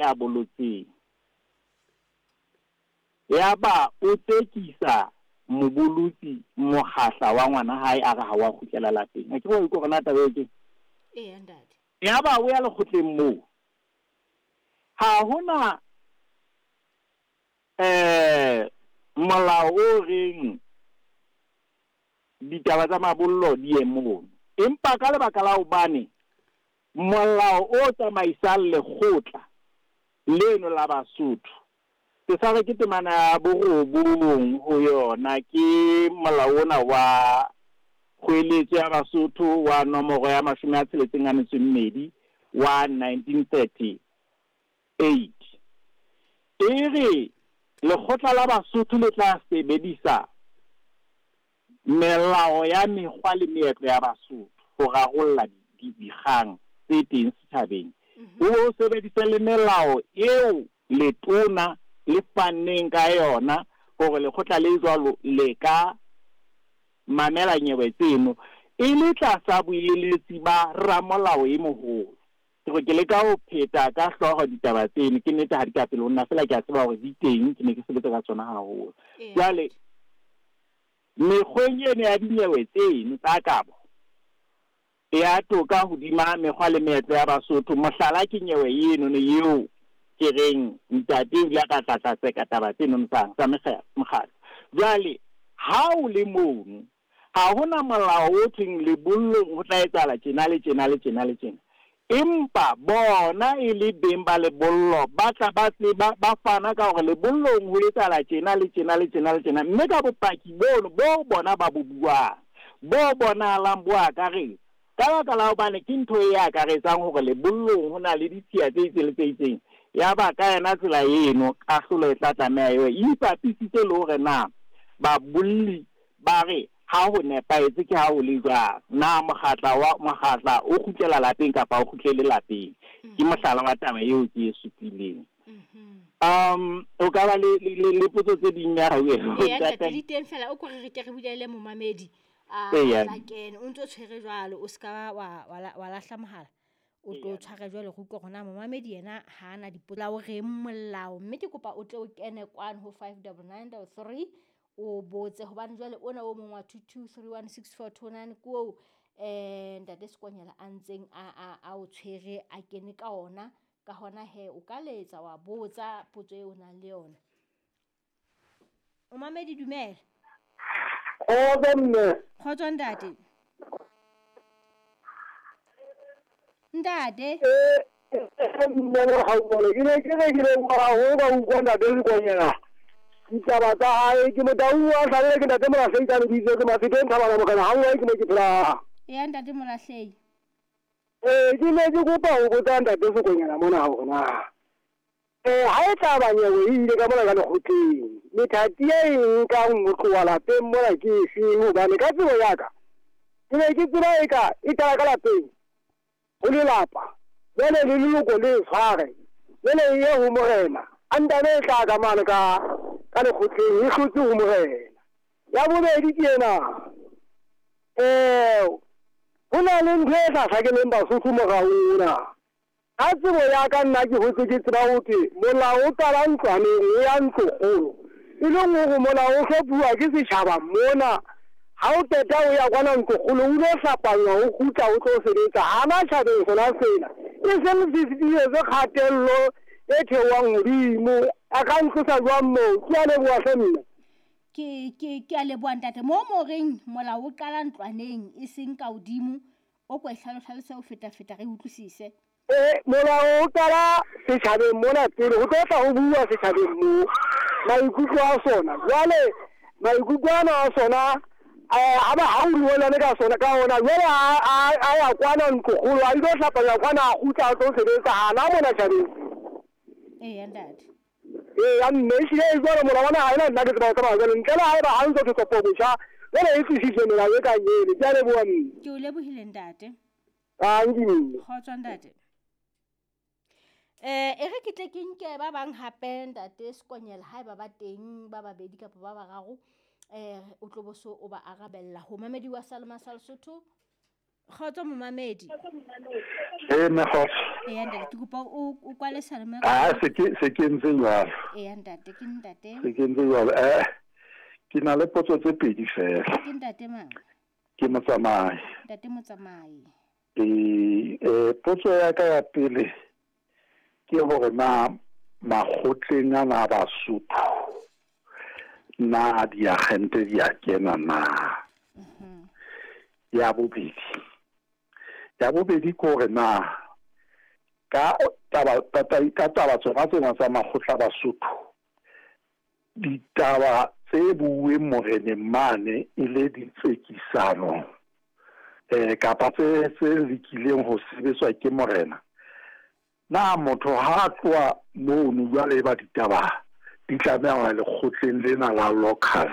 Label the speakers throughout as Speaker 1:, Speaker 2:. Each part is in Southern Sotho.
Speaker 1: ya bolotseng. Yaba o tsekisa mobolotsi mokgahla wa ngwana hae a re ha wa kgutlela lapeng. Akere wa utlwa hore na taba eo keng?
Speaker 2: Eya ntate.
Speaker 1: Yaba o ya lekgotleng moo. Ha hona eh molao o reng ditaba tsa mabollo di ye mono. Empa ka lebaka la hobane molao o tsamaisang lekgotla leno la Basotho, ke sa re ke temana ya borobong ho yona, ke molao ona wa kgoeletso ya Basotho wa nomoro ya 62 wa 1938. E re lekgotla la Basotho le tla sebedisa melao ya mekgwa le meetlo ya Basotho ho rarolla dikgang tse teng setjhabeng. O sebedise le melao eo letona le fanneng ka yona hore lekgotla le jwalo le ka mamela nyewe tseno e le tlasa boeletsi ba ramolao e moholo. Ke re ke leka ho pheta ka hlooho ditaba tseno, ke nnete ha di ka pele ho nna, feela ke a tseba hore di teng, ke ne ke sebetsa ka tsona haholo. Jwale mekgweng eno ya dinyewe tseno tsa kabo ya toka hodima mekgwa le meetlo ya Basotho, mohlala ke nyewe eno eo ke reng ntate o ile a ka tla tseka taba tseno tsa mekgatlo. Jwale ha o le mono, ha hona molao o thweng lebollong ho tla etsahala tjena le tjena le tjena le tjena. Empa bona e le beng ba lebollo ba tla ba tseba, ba fana ka hore lebollong ho etsahala tjena le tjena le tjena le tjena, mme ka bopaki bono bo bona ba bo buang, bo bonahalang bo akaretsa. Ka baka la hobane ke ntho e akaretsang hore lebollong ho na le ditshiya tse itseng le tse itseng, ya ba ka yona tsela eno kahlolo e tla tlameha eo e ipapisitse le hore na babolli ba re ha ho nepahetse ke ha ho le jwang, na mokgatla o kgutlela lapeng kapa o kgutlele lapeng. Ke mohlala wa taba eo ke e supileng. O ka ba le potso tse ding ya hao eo?
Speaker 2: Ntate, di teng fela, o ko re ke re bulele momamedi a tla kene. O ntso tshwere jwalo, o ska wa lahla mohala, o tlo tshware jwalo re utlwe hore na momamedi yena ha ana dipotso o reng molao. Mme ke kopa o tle o kene kwano ho 59933 o botse, hobane jwale ona o mong wa 22316429 ke oo ntate Sekonyela a ntseng a o tshwere a kene ka ona. Ka hona he o ka letsa wa botsa potso eo o nang le yona. O mamedi, dumela.
Speaker 3: Kgotso mme.
Speaker 2: Kgotso ntate. Ntate.
Speaker 3: Mme Mohaumolo, ke ne ke re ke leboha haholo ka utlwa ntate Sekonyela ditaba tsa hae. Ke motau wa hlabele, ke ntate Molahlehi ka lebitso, ke Mafeteng Thabana Mokana ha nngwe ke mo ke phela.
Speaker 2: Eya ntate Molahlehi.
Speaker 3: Ke ne ke kopa ho botsa ntate Sekonyela mona hore na ha e tla ba nyewe e ile ka mona ka lekgotleng, methati e nkang ho tloha lapeng mona ke efeng? Hobane ka tsebo ya ka ke ne ke tseba eka e qala ka lapeng ho lelapa, jwale le leloko le tshware, jwale e ye ho morena, a ntane e tla ka mane ka lekgotleng e hlotse ho morena. Ya bobedi ke ena, ho na le ntho e sa hlakeleng Basotho morao ona. Ka tsebo ya ka nna ke hotse ke tseba ho thwe molao o qala ntlwaneng o ya ntlokgolo, e leng hore molao o hlophuwa ke setjhaba mona. Ha o qeta o ya kwana ntlokgolo, o lo hlapanywa, o kgutla o tlo sebetsa hana tjhabeng sona sena, e seng se se kgatello e theohang hodimo. A ka ntlosa jwang moo? Ke a leboha hle mme.
Speaker 2: Ke a leboha ntate. Moo mo reng molao o qala ntlwaneng e seng ka hodimo, o ko e hlalose o feta-feta re utlwisise.
Speaker 3: Molao o qala setjhabeng mona pele, ho tlo tla ho bua setjhabeng moo maikutlo a sona. Jwale maikutlo ana a sona ha ba ha o dumelane ka sona ka ona, jwale a ya kwana ntlokgolo, a ilo hlapanya kwana, a kgutla a tlo sebetsa hana mona tjhabeng.
Speaker 2: Eya ntate.
Speaker 3: Eya mme, ehlile e jwalo molao wa naha ena nna ke tseba ho tsamaya jwalo, ntle le haeba ha ntso thwe botjha, jwale e tlisitswe melao e kang eno. Ke a leboha mme.
Speaker 2: Ke o lebohile ntate.
Speaker 3: Tanki mme.
Speaker 2: Kgotso ntate. E re ke tle ke nke ba bang hape ntate Sekonyela, haeba ba teng ba babedi kapa ba bararo, o tlo bo so o ba arabella. Ho mamedi wa Salema sa Lesotho, Kgotso momamedi.
Speaker 4: Ee, mme kgotso.
Speaker 2: Eya ntate, ke kopa o kwale seyalemoya.
Speaker 4: Ah, se ke ntse jwalo.
Speaker 2: Eya ntate, ke ntate.
Speaker 4: Se ke ntse jwalo. Ke na le potso tse pedi fela.
Speaker 2: Ke ntate mang?
Speaker 4: Ke Motsamai.
Speaker 2: Ntate Motsamai.
Speaker 4: Ee, potso ya ka ya pele ke hore na makgotleng ana a Basotho na diagente di a kena na? Ya bobedi ke hore na ka taba tsona tsena tsa makgotla a Basotho, ditaba tse buuweng moreneng mane e le ditsekisano kapa tse lekileng ho sebetswa ke morena, na motho ha a tloha mono jwale e ba ditaba di tlameha ho ya lekgotleng lena la local,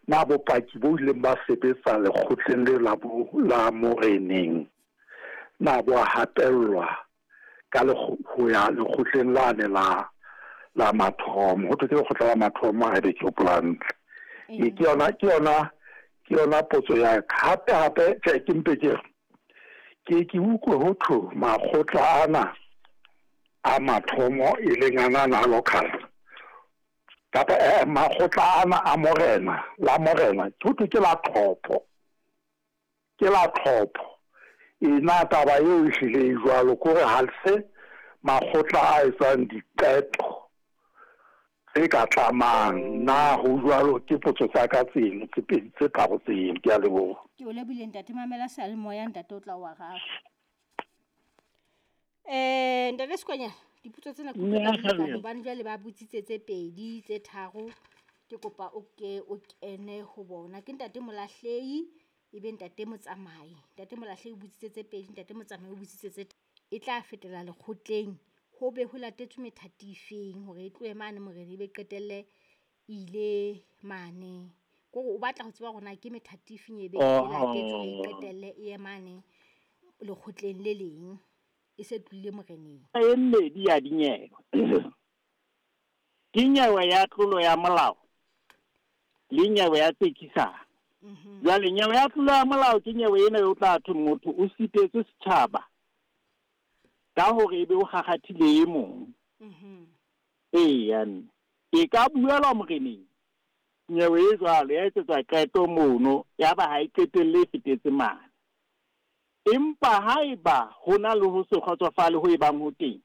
Speaker 4: na bopaki bo ileng ba sebetsa lekgotleng le la bo la moreneng na bo a hatellwa ka ho ya lekgotleng lane la mathomo, ho thwe ke lekgotla la mathomo haebe ke hopola hantle? E ke yona potso ya ka. Hape hape, tjhe, ke mpe ke re ke utlwe ho thwe makgotla ana a mathomo e leng ana a local kapa makgotla ana a morena la morena, ho thwe ke la tlhopho, ke la tlhopho. E na taba eo e hlile e jwalo, ke hore ha se makgotla a etsang diqeto tse ka tlamang na? Ho jwalo? Ke potso tsa ka tseno tse pedi, tse tharo tseno. Ke a leboha.
Speaker 2: Ke o lebohile ntate. Mamela seyalemoya, ntate o tla o araba. Ntate Sekwanyana, dipotso tsena ke
Speaker 1: Mme
Speaker 2: utlwa ka di lekane,
Speaker 1: Kgabelo.
Speaker 2: hobane jwale ba botsitse tse pedi, tse tharo. Ke kopa o ke o kene ho bona. Ke ntate Molahlehi, ebe ntate Motsamai. Ntate Molahlehi o botsitse tse pedi, ntate Motsamai o botsitse tse, e tla fetela lekgotleng ho be ho latetswe methati efeng hore e tlohe mane morena ebe qetelle ile mane? Kore o batla ho tseba hore na ke methati efeng e be e latetswe hore e qetelle e ye mane lekgotleng le leng e se tlohile moreneng.
Speaker 1: E mmedi ya dinyewe ke nyewe ya tlolo ya molao le nyewe ya tsekisano. Jwale nyewe ya tlolo ya molao ke nyewe ena e o tla thwe motho o sitetswe setjhaba ka hore ebe o kgakgathile e mong. Eya mme e ka buelwa moreneng nyewe e jwalo, ya etsetswa qeto mono, ya ba ha e qetelle e fetetse mane. Empa haeba ho na le ho se kgotsofale ho e bang ho teng,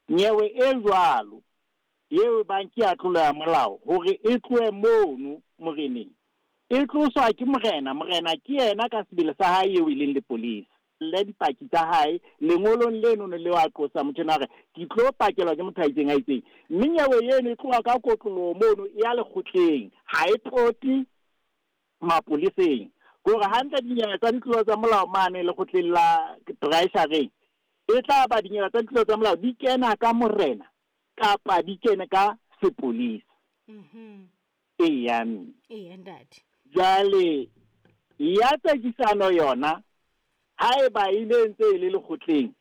Speaker 1: nyewe e jwalo eo e bang ke ya tlolo ya molao, hore e tlohe mono moreneng, e tloswa ke morena. Morena ke yena ka sebele sa hae eo e leng lepolesa le dipaki tsa hae lengolong leno le wa qosa motho ena hore ke tlo pakelwa ke motho a itseng a itseng, mme nyewe eno e tloha ka kotloloho mono e ya lekgotleng, ha e pote mapoleseng. Kore hantle dinyewe tsa ditlolo tsa molao mane lekgotleng la treasureng e tla ba dinyewe tsa ditlolo tsa molao di kena ka morena kapa di kene ka sepolesa. Eya mme.
Speaker 2: Eya ntate.
Speaker 1: Jwale ya tsekisano yona, haeba e le ntse e le lekgotleng,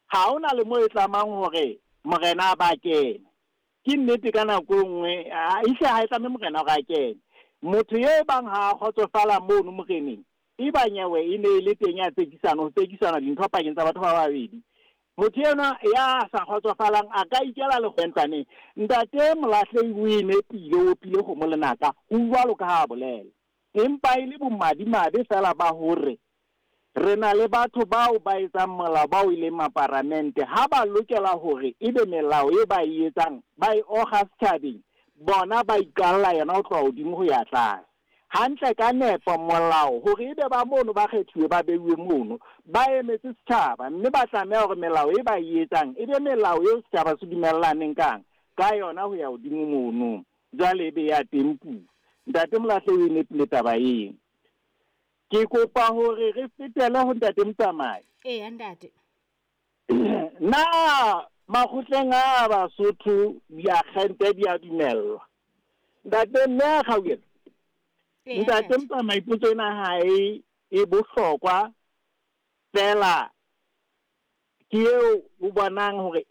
Speaker 1: ha hona le mo e tlamang hore morena a ba kene. Ke nnete, ka nako e nngwe ehle ha e tlame morena hore a kene. Motho e bang ha a kgotsofala mono moreneng, e ba nyewe e ne e le teng ya tsekisano, ho tsekisana dintho pakeng tsa batho ba babedi, motho enwa ya sa kgotsofalang a ka ikela lekgwentlwaneng. Ntate Molahlehi o e nepile, o opile kgomo lenaka, ho jwalo ka ha a bolela, empa e le bomadimabe fela ba hore re na le batho bao ba etsang molao bao e leng maparamente, ha ba lokela hore ebe melao e ba e etsang ba e oga setjhabeng, bona ba iqalla yona ho tloha hodimo ho ya tlase. Hantle ka nepo molao hore ebe ba mono ba kgethuwe, ba beuwe mono, ba emetse setjhaba, mme ba tlameha hore melao e ba e etsang e be melao eo setjhaba se dumellaneng kang ka yona ho ya hodimo mono. Jwale ebe ya teng puo. Ntate Molahlehi o e nepile taba eo. Ke kopa hore re fetele ho ntate Motsamai.
Speaker 2: Eya ntate.
Speaker 1: Na makgotleng a Basotho diakgente di a dumellwa? Ntate mme a Kgaukelo.
Speaker 2: Eya.
Speaker 1: Ntate
Speaker 2: Ntate.
Speaker 1: Motsamai, potso ena ha e bohlokwa fela ke eo o bonang hore